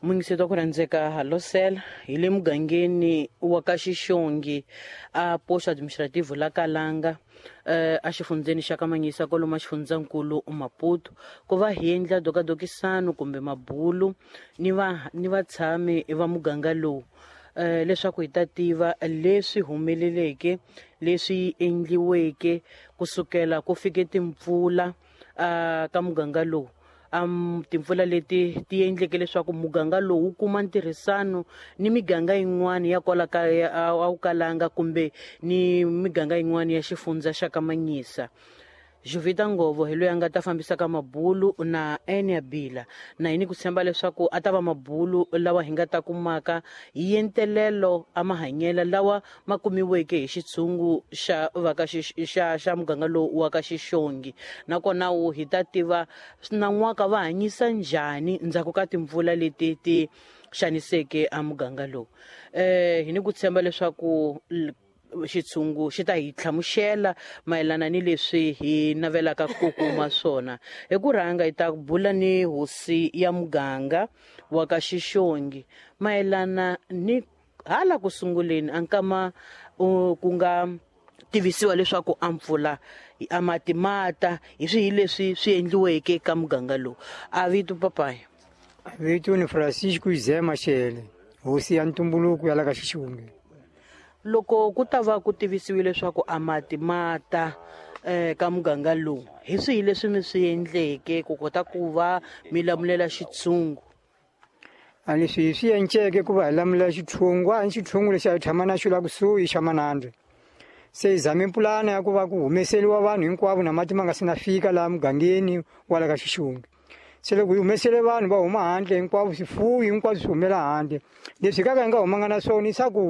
Muyingiseti wa ku rhandzeka halosela hi le mugangeni wa ka Xixongi a posto administrativo la Kalanga a xifundzeni xa Kamanyisa kwalomu xifundzankulu Maputo ku va hi endla dokadokisano kumbe mabulu ni va ni vatshami va muganga lowu leswaku hi ta tiva leswi humeleleke leswi endliweke kusukela ku fike timpfula ka muganga lowu. Timpfula leti ti endleke leswaku muganga lowu wu kuma ntirhisano ni miganga yin'wana ya kwala ka a wu kalanga kumbe ni miganga yin'wana ya xifundza xa Kamanyisa. Jovita Ngovo hi loyi a nga ta fambisaka mabulu na Enia Bila na hi ni ku tshemba leswaku a ta va mabulu lawa hi nga ta kumaka hi yentelelo a mahanyela lawa ma kumiweke hi xitshungu xa va ka xa xa muganga lowu wa ka Xixongi, nakona wu hi ta tiva nan'waka va hanyisa njhani ndzhaku ka timpfula leti ti xaniseke a muganga lowu. Hi ni ku tshemba leswaku xitshungu xi ta hi hlamusela mayelana ni leswi hi navelaka ku kuma swona. Hi ku rhanga hi ta bula ni hosi ya muganga wa ka Xixongi mayelana ni hala ku sunguleni a nkama ku nga tivisiwa leswaku a mpfula a mati mata hi swihi leswi swi endliweke ka muganga lowu. A vito papaya? Vito ni Francisco Izema Shele, hosi ya ntumbuluko ya la ka Xixongi. Loko ku ta va ku tivisiwile leswaku a mati mata ka muganga lowu, hi swihi leswi mi swi endleke ku kota ku va mi lamulela xitshungu? A leswi hi swi enceke ku va hi lamulela xitshungu, a hi xitshungu lexi a hi tshama na xo la kusuhi xa Manandre. Se hi zame pulana ya ku va ku humeseriwa vanhu hinkwavo na mati ma nga se na fika laha mugangeni wa la ka Xixongi. Se loko hi humesele vanhu va huma handle hinkwavo, swifuwo hinkwaswo swi humela handle. Leswi kaka hi nga humanga na swona i swakudya.